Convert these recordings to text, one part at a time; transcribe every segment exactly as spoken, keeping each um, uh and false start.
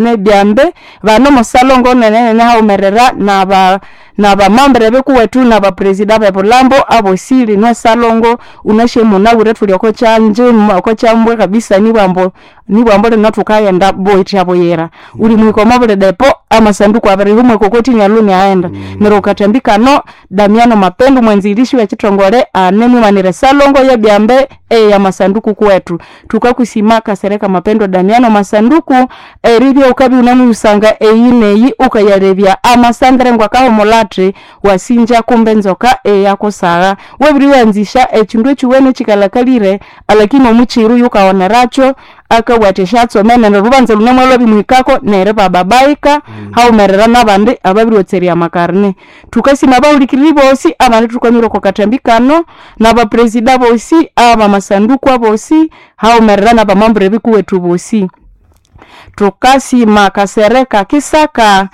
Nebyambe bane omosalongo nenenene haghumerera naba nabamembre bikuwethu nabapresida abebulhambo abosi lino esalongo wunasi munabwire thuli okokyangye okokyambwa kabisa nibwambu nibwambu lino thukaghenda buthya buyira. Wulimuhika omwabuli depo amasanduku abirihwa omwekokoti inalwe inaghenda. Neryo okwamathambi kano Damiano Mapendo omwanzirishi wekithongole anemwimanira esalongo yebyambe eyamasanduku kuwethu. Thukakusima Kasereka Mapendo Damiano Masanduku eribya wukabya iwunemuyusanga eyi neyi wukayalebya amasandre ngakahumulha athi wasinja kumbe enzoka iyakusagha. Wabiriwanzisya ekyindu ekyowene ekyikalhakalire alakini omukyiru yukawonerakyu akabugha athi esyatsome neryo olhubanza lunemwalhwabimuhikako neribababaika haghumerera nabandi ababiriwatserya amakarine. Thukasima abahulikiriri bosi abandi thukwamire okwakathambi kano, naba presida abosi abamasanduku abosi haghumerera naba membre ebikuwethu bosi. Thukasima Kasereka Kisaka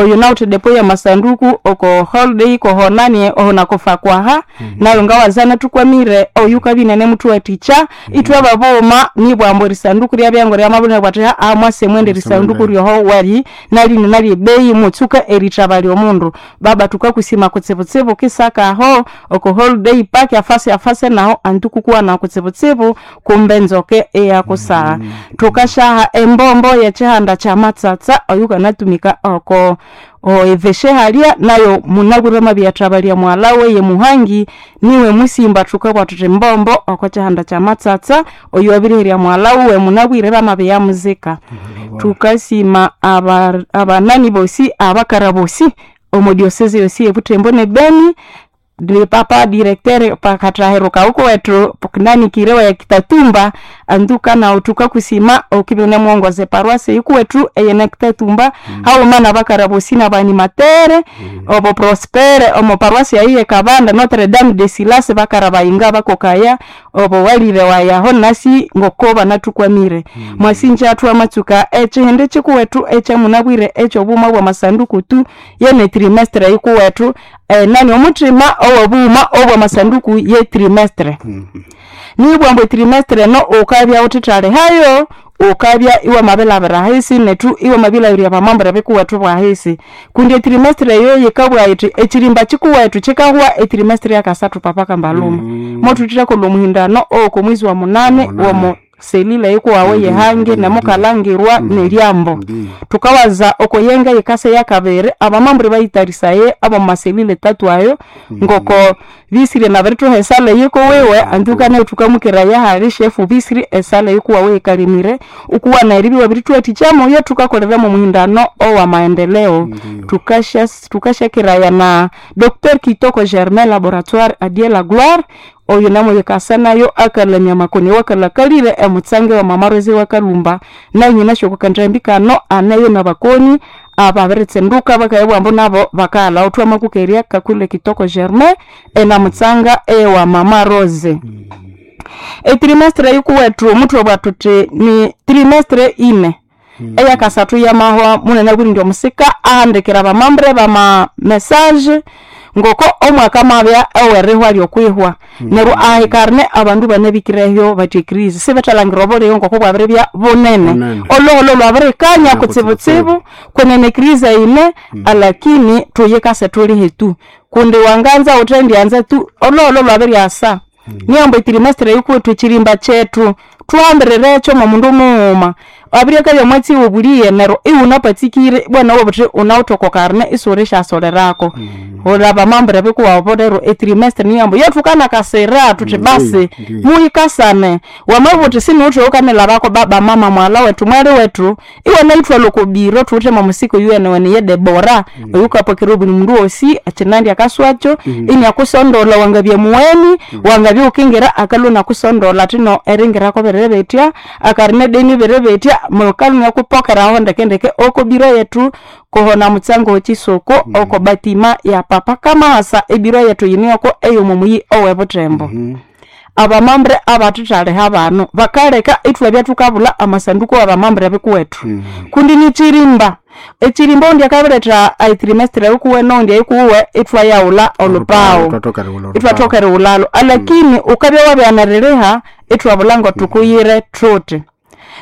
oyunawithe edepo yamasanduku oko holiday kohonani oho nakofakwaha nayu ngawaza inathukwamire oyukabya inanemuthuwathikya ithwe babughuma nibwambu erisanduku ryabya ngoryamabya athi mwase mwende erisanduku ryoho nalyu inine ryebeyi mutsuke erithabalya omundu. Baba thukakusima kutsibutsibu Kisaka aho oko holiday park afase afase nahu anti kukuwana kutsibutsibu kumbe enzoka iyakusagha. Thukasyaha embombo yekyihanda kyamatsatsa oyukanatumika oko eveshe halya nayu munabwire amabiyathabalya mughalha wiwe Muhangi niwe musimba thukabugha thuthi mbombo okokyihanda kyamatsatsa oyowabiriherya mughalha wuwe munabwire bamabiyamuzika. Thukasima aba- abanani bosi abakara bosi omo diocese yosi e Butembo ne Beni papa directeur pakatahiro kaukuwethu nani kirewa Kitatumba antuka nawu thukakusima wukibya iwunemuwongoza eparoise eyikuwethu eyine Kitatumba haghuma nabakara bosi nabanimatere obo Prospere omo paroisse eyo eyekabanda Notre Dame de Silasi bakarabayinga bakokaya obo walire wayi aho nasi ngoko banathukwamire. Mwasinja thwamatsuka ekyihindi kyikuwethu ekyamunabwire ekyobughuma bwamasanduku tu yene trimestre yikuwethu enani omuthima owobughuma obwamasanduku ye trimestre. Nibwambu etrimestre eno wukabya wuthithalihayo, wukabya iwamabilhabira ahisi nethu iwamabilhaghirya abamembre bikuwethu bwahisi kundi etrimestre eyo yikabugha yithi ekyirimba kyikuwethu kyikahwa etrimestre yakasathu papa kambaluma. Mothuthethakolha omuhindano owokomwezi wa munani womo selile eyikuwawu eyehangi nemukalhangirwa neryambo. Thukawaza okoyenga eyikasa yakabiri abamembre bayitharisaye abomwaselile tatu ayo ngoko bisirye nabirithuha esale eyikuwiwe antuka nayu thukamukeraya ahali shefu bisiri esale eyikuwawu eyikalemire wukuwana eribya iwabirithuwathikya mwoyo thukakolera mwomuhindano owamaendeleo. Thukasya thukasyakeraya na Docteur Kitoko Germain laboratoire a Dieu la gloire oyu namuyikasa nayu akalamya amakoni awakalhakalire emutsange wa mama Rose wakalhumba nayu nyinasi okwakanjambi kano aneyo nabakoni ababiritsinduka bakayabugha ambu nabo bakaghalhawo thwamakukerya Kakule Kitoko Germain enamutsanga ewa mama Rose. Etrimestre eyikuwethu muthwabugha thuthi ni trimestre ine eyakasathu yamahwa munanabwire indi omusika ahandikira abamembre bama message ngoko omwaka amabya owerihwa lyokwihwa. Neryo ahikarine abandu banabikireyo bathi ecrise sibethalhangira obulighe ngokubwabiribya bunene. Bunene. Olhuholho lwabirikanya kutsibutsibu Kutsibutsibu. kwenene ecrise yine alakini thuyikase thulihe tu kundi wanganza wuthendyanza tu olhuholho lwabiryasa. Niyambu etrimestre eyikuwethu ekyirimba kyethu thuhambirirekyo mwomundu mughuma. Abiryakabya omwatsi wobulighe neryo iwunapatsikire ibwa nawu iwabugha wuthi wunawithe okwakarine isiwulisyasolerako. Wulha abamembre bikuwabu rero etrimestre niyambu yothukanakasira thuthi basi Ndiyo. muyikasane. Wamabugha wuthi siniwithe owakanilhabako baba mama mughalha wethu mwali wethu iwanayithwalha okobiro thuwithe mwomusika oyuwenewene ye Debora oyukapokera obuli mundu wosi ekyinandi akaswakyo inakusondolha wangabya mugheni wangabya iwukingira akalhwa inakusondolha athino eringirako biribitya akarine deni biribitya mukalhwa inakupokeraho ndekendeke okobiro yethu kuhona mutsango wekisoko oko batima ya papa kamahasa ebiro yethu yine yoko eyomomuyi owebuthembo. Abamembre abathithaliha bano bakaleka ithwabya thukabulha amasanduku wabamembre bikuwethu kundi nikyirimba ekyirimba owundi akabiretha etrimestre eyikuwe nowundi eyikuwe ithwayaghulha olhupaghu Ithwathoka erighulha olhupaghu. ithwathoka erighulhalhu alakini wukabya wabighana eririha ithwabulha ngothukuyire thuthi.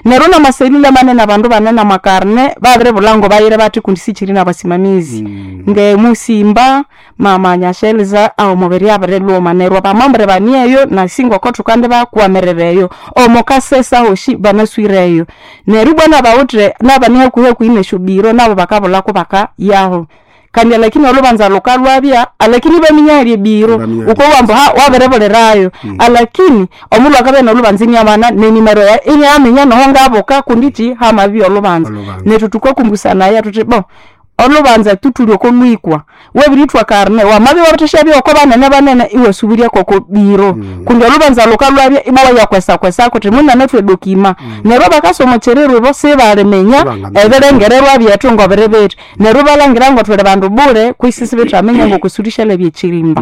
Neryo namaselula manene abandu banene amakarne babiribulha ngobayire bathi kundi sikyiri nabasimamizi. Ngemusimba mama Nyasheliza omubiri abirilhuma neryo abamambre baneyo nasi ngoko thukandibakwamiririra eyo. Omo Kasesa hosi banaswireyo. Neryo ibwa nabawithe nabane hakuhi hakuhi nesyobiro nabo bakabulha kubakayaho. Kandi alakini olhubanza lhukalhwabya alakini ibaminya ahali ebiro Ibaminya wukowa ambu ha wabiribulirayo alakini omundu akabya nolhubanza iniamana nenimero yayi iniaminya noho ngabuka kundi kyi hamabya olhubanza. Olhubanza. Nethu thukakumbusanaya thuthi bo olhubanza tu thuli oko lwikwa wabirithwa karne wamabya iwabirithasyabya oko banene banene iwasubirya koko biro kundi olhubanza lhukalhwabya ibwa iwayakwesakwesako wuthi munanathu edokima neryo abakasa omo kyiriro ibo sibaliminya Sibangaminya. ebirengererwa byethu ngobiri bithi neryo ibalhangira ngothuli bandu bule kwisi isibethaminya ngokusuluhisya ekirimba.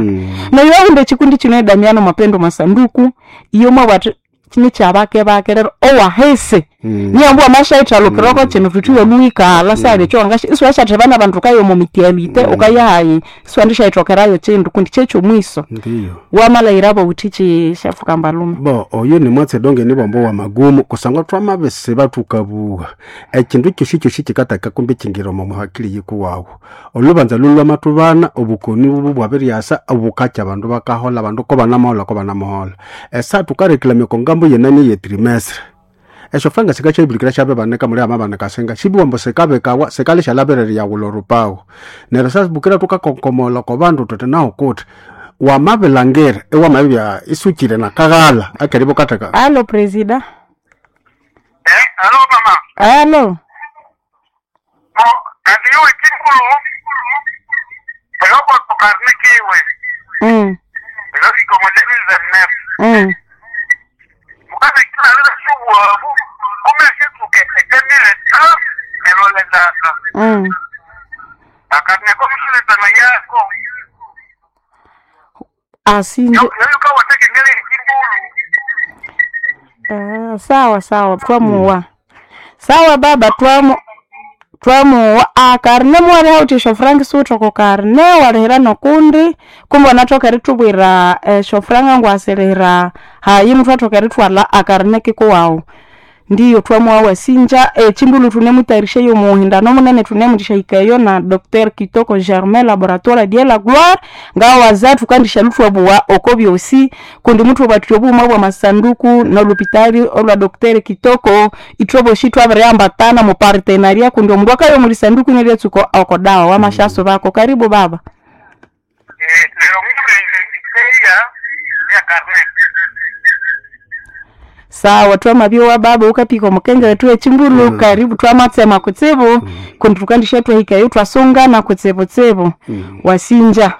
Neryo ahindi ekikundi kino edamiano mapendo masanduku iyo mwabugha athi nikyabake bake rero owahisi niyambu wamasyayithalukirako kino thuthi iwalhuwikalha sihali ekyowangasya isiwasyatheba nabandu wukaya omo mutualite wukayahayi isiwendisyayithokerayo kyindu kundi kyekyomwiso Ndiyo. wamalhayirabo wuthi kyi shefu Kambalume. Bo oyo ni mwatsi donge ni bombo wa magumu kusangwa twamabisiba thukabuha ekindu kyosi kyosi kikataka kumbi kingira omo muhakili yikuwawu olubanza lulwamathubana obukoni bubu bwabiryasa obukakya abandu bakahola abandu ko banamahola ko banamahola esa thukarekilamya oko ngambo yenani ye trimestre esyo franga sikasyabirikira syabibanika muli amabanika singa sibiwambo sikabikawa sikalishalabirira yawula orupawu neryo sasibukira thukakonkomola oko bandu thuthi nahu kuthi wamabilangira iwamabibya isukire nakaghala akeribo katheka Alo presida. Eh, alo mama. Alo. Mo kandi iwe kinkulu. Eloko tukarne kiwe. Mm. Eloko iko deux mille vingt-neuf. Mm. Mukabe kila leo shubu kume situke deux mille trente elolendaka. Mm. Akarne ko mshule tana yako. Asinje. Yo yo kawateke ngele kimbulu. Ah, sawa sawa twamuwa. Sawa baba twamu twamuwa akarne mwali hauthi frank siwuthe karne walihira nokundi kumbe wanathoka erithubwira eshofranga ngwasirira hayi muthu athoka erithwalha akarne kikuwawu ndiyo twamuwa wasinja echimbulu thunemutayarisha yomuhindano munene thunemundishahikayo na Dr Kitoko Germain laboratoire die la gloire ngawaza thukandisha thwabuwa oko byosi kundi muthu bathu obuuma bwa masanduku nolupitali olwa Dr Kitoko ithwaboshi twabiriambatana mu partenariat kundi omundu akayo muli sanduku nelyatsuka oko dawa wamashaso bako karibu baba Eh, lero mure ya ya karne. sawa twamabyowa baba ukapika omukenge wetu echimbulu mm. karibu twamatsema kutsibu mm. kundi thukandisha twahikayo twasungana kutsibutsibu mm. wasinja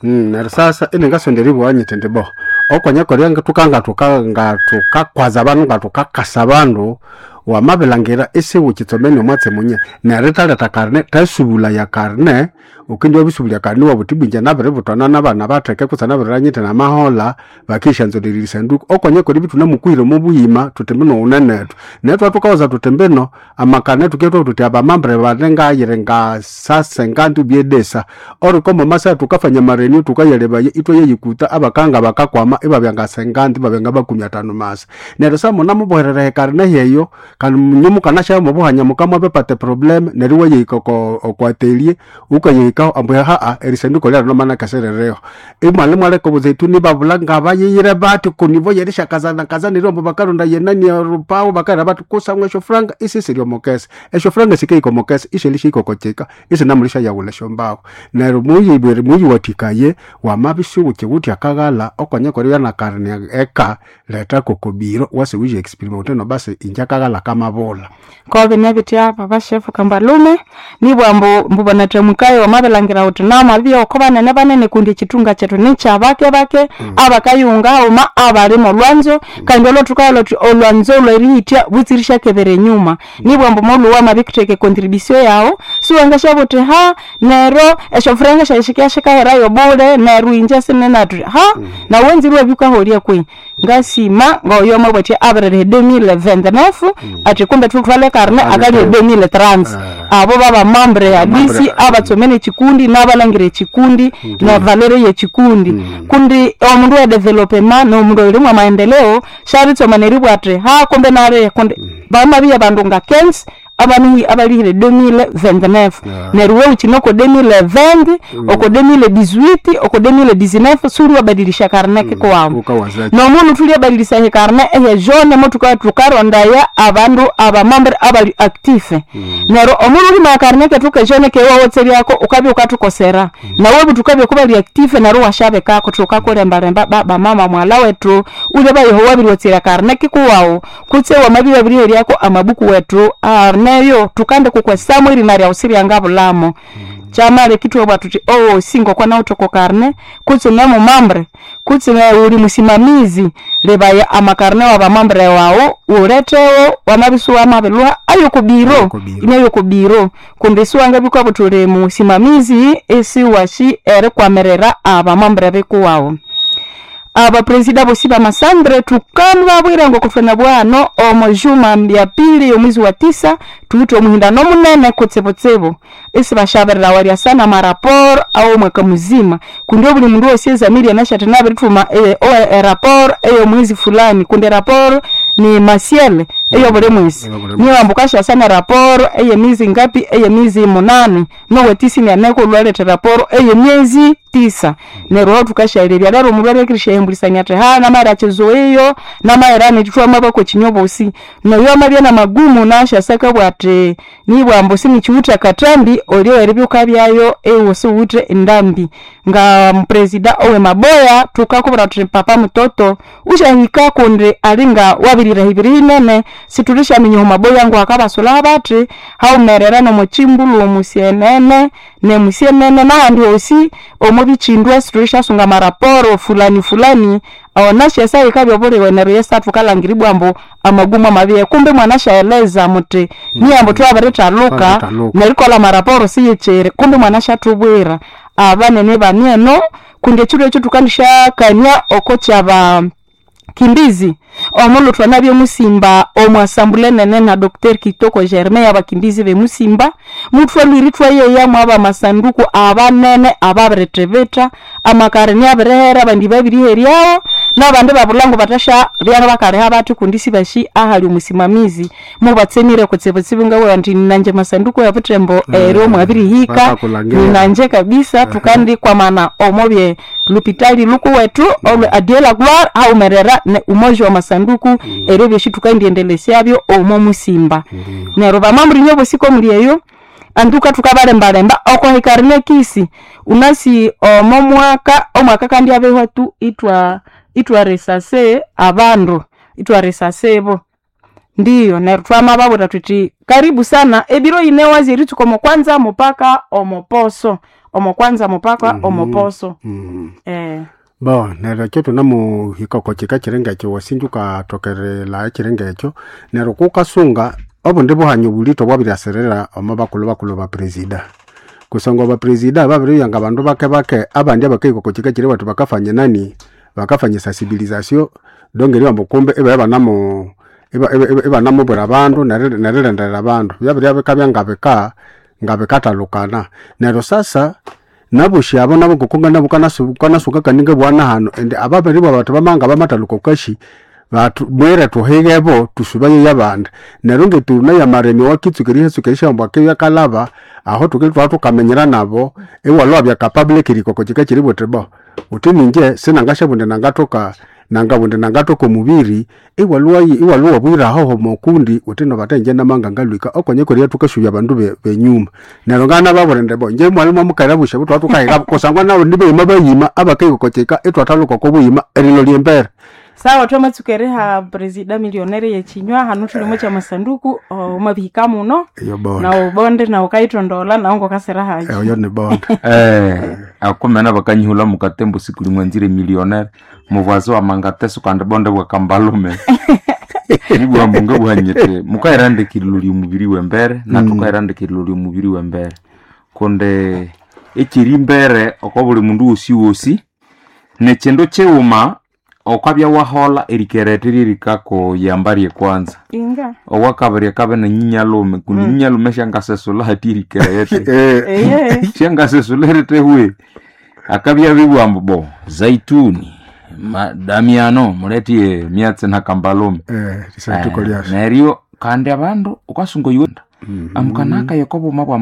Mm, neryo sasa iningasondera nyiti ndi bo okonyakorya tukanga tukanga tukakwaza abandu nga tukakasa abandu wamabilangira isiwukitsomene omwatsi munye neryo rithaleta karne thasubula ya karne ukindi wabisubulya karne wabuthi bwinja nabiributwana nabana batheke kutse nabiriranyite namahola bakishanzolera erisanduku okonyakorya bitunamukuhira omo buhima thuthi mbino wunenethu neryo thwathukawaza thuthi mbino amakarne tuketwa thuthi abamambre bane ngayiri ngasase ngandu byedesa orikomo masa tukafanya marenio tukayalebaye itwayeyikuta abakanga bakakwama ibabya ngasenganti ibabya ngabakumi atano masa neryo sa munamuboherera ekarne yeyo kandi nyomukanasha mubuhanya mukama bepate problem neryo wayehika oko okwatelie ukayehikaho ambu haa erisanduko lyalo nomana kaserereho imwali mwaleka obuzeituni babula ngabayeyire bati kunivo yerishakazana kazanire ombu bakaronda yenani orupawo bakaira bati kusamwa esyo franga isisiri omukesa esyo franga sikehika omukesa ishelishihika okochika isinamulisha yawula esyombawo neryo muyibwere muyiwathikaye wamabisuwukiwuthi akaghala okonyakorya nakarne eka leta kokobiro wase wije experiment no basi inje akaghala kamabula kobe nebitya baba shefu Kambalume nibwa mbu mbubanathamukayo wamabilangira wuthi namabya oko banene banene kundi ekitunga kyethu nikyabake bake abakayunga haghuma abali molwanzo kandi olwathukalwa thuthi olwanzo lwerihithya butsirishyakebera enyuma nibwa mbu molhuwa wamabikutheka econtribution yawu siwangasyabuwa wuthi ha neryo esyofuranga syayi sikaherayo bule neryo inje sinenathu ha nawu wanzire iwabya wukaholya kwehi Ngasima ngoyo mabwati abirere deux mille vingt-neuf, ati kumbe tuthwale karne akali deux mille trente. Abo baba mambre ya disi abatsomene chikundi n'abalangire chikundi na valere yechikundi, kundi omundu wa development n'omundu olimwa maendeleo sharitsoma neribwa ati ha kumbe nare kundi bamabiya bandu nga quinze abanu abalihire deux mille vingt-neuf. Neryo wewe uchinoko deux mille vingt, oko deux mille dix-huit, oko deux mille dix-neuf, suri wabadilisha karne kikuwamu. Ukawazaki. Nomunu tulyabadilisa he karne ehe jaune mo tuka tukarondaya abandu abamambre abali active. Neryo omunu ulima karne ketu ke jaune kewawotseryako ukabya ukatukosera, nawe butukabya kubali active neryo washabekako tukakulembalemba baba mama mwala wetu ulya bayeho wabiryotsera karne kikuwawu kutse wamabya wabiriheryako amabuku wetu arneyo tukande kukwesamu irina ryawu siryangabulamo. Chamale kitwebwa tuti owo singo kwana utoko karne kutse nemo mambre kutse na uli musimamizi lebaya amakarne wa bamambre wawo uletewo wamabisu wamabilwa ayo kubiro. Ayo kubiro. Inayo kubiro kumbe siwanga bikwa butuli musimamizi esi washi ere kwamerera abamambre bekuwawo. Abapresida bosi bamasandre tukanu babwira ngo kufena bwano omo juma ya pili omwezi wa tisa tuwite omuhindano munene kutsibutsibu isi bashaberera walya sana maraporo au mwaka muzima, kundi buli mundu wose ezamiri anashati nabirituma e, o e, raporo eyo mwezi fulani, kundi raporo ni masiele eyo buli mwezi. Eyo buli mwezi. Niyo ambukasha sana raporo eye miezi ngapi? Eye miezi munane nowetisi nianeko lwalete raporo eye miezi tisa. Neryo tukashayirirya lero omundu alekirishahembulisania ati ha namara achizoeyo namaera nitithwa mabako chinyobosi noyo amabya na magumu nashasaka bwati nibwambu sinichiwitha katambi olio eribyuka byayo ewo siwithe endambi. Nga mpresida owe maboya tukakubwira thuthi papa mutoto ushahika kundi alinga wabirira ibiri inene situlishaminya omu maboya ngu akabasula bathi haumerera nomuchimbulu omusienene nemusienene nahandi hosi omu bichindwa situlishasunga maraporo fulani fulani onashesa ikabya obuliwe neryo yesa thukalangiribwa ambu amagumu amabiye kumbe mwanashaeleza muti niyambu thwabirithaluka. Twabiritaluka. Nerikolha maraporo siyikyiri kumbe mwanashathubwira abanene banieno kundi ekiro ekyo thukandishakania oko kyaba kimbizi omulhu thwanabya musimba omwasambule nene na Doctor Kitoko Germain abakimbizi bemusimba muthwalwiri thwayeyamu abamasanduku abanene ababirithibitha amakari abirihera abandi babiriheryawo nabandi babulhango bathasha byana bakaliha bathi kundi sibashi ahali omusimamizi mubatsemire kutsibutsibu ngabugha nti nanje masanduku yabuthembo ero mwabirihika. Bakakulhangira. Ninanje kabisa tukandikwamana omobye lupitali lukuwethu olwe adiela gloire haumerera ne umoja wa masanduku eryo byosi tukandiendelesyabyo omo musimba. Neryo bamambulinye bosiko muli eyo anduka tukabalembalemba okohikarine kisi unasi omo mwaka omwaka kandi abehwa tu itwa itwaresase abandu itwaresasebo ndiyo. Neryo twamababwira thuthi karibu sana ebiro ine wazi eritsuka omo kwanza mupaka omoposo omo kwanza mupaka omoposo. Mm. Eh. Bo neryo ekyo thunamuhika oko kika kiringa ekyo wasinja ukathokerela ekiringa ekyo neryo kukasunga obundi buhanyo bulito bwabiryasirira omo bakulhu bakulhu bapresida kusangwa bapresida babiribya nga bandu bake bake abandi abakahika oko kika kiri bathu bakafanya nani bakafanya sensibilisation donc eribamba kumbe ibabya banamu iba- iba- iba- ibanamubwira abandu neri- nerilindirira abandu byabirya bikabya ngabika ngabikathalukana. Neryo sasa naboshi abo nabo ngoku kanasuka kaninga bwana hano ende ababiri bwa bathu bamanga bamathaluka okashi bathu mwere thuhigebo tusubaye yabandi. Neryo ngeturuna yamaremi wakitsuka mbwa akibya kalaba aho tukili thwa thukamenyera nabo iwalwa bya public rikoko kika kiri buthi bo uthi ninje sinangashabundi nangathoka nangabundi nangathoka omubiri iwalwa iwalwa wabwira ahoho mokundi uthi nobathe nje namanga ngalwika okonye koria thukasubya abandu be- benyuma. Neryo ngana babulinde bo nje mwalimu amukera busha butwa thukahika kusangwa nabo nibeyima bayima abakahika kika itwathaluka okobuyima erilo lyembere. Sawa twamatsuka eriha presida millionaire yechinywa hanu thulimo kya masanduku omabihika muno. Eyo bonde. Na ubonde na ukaithondola nawu ngokasira haji. Eyo ni bonde. Eh, akumena bakanyihula mukatembo siku limwe nzire millionaire mubwazi wa mangateso kandi bonde bwa kambalume nibwa mbunga bwanyete mukairandikirilo lyomubiri wembere na tukairandikirilo lyomubiri wembere kunde ekiri mbere oko buli mundu wosi wosi nekindu kighuma okwabya wahola erikerete lyerikakuyamba ryekwanza Inga. owakabiri akabe na nyinyalume kundi nyinyalume syangasesula hati erikerete Eh, Eye. syangasesula eritehwe akabya bibwambu bo zaituni ma, damiano muletie myatsi na kambalume eh, lisanduko Eh, lyasyo neryo kandi abandu ukasunga yuenda amukanaka yokobuma bwa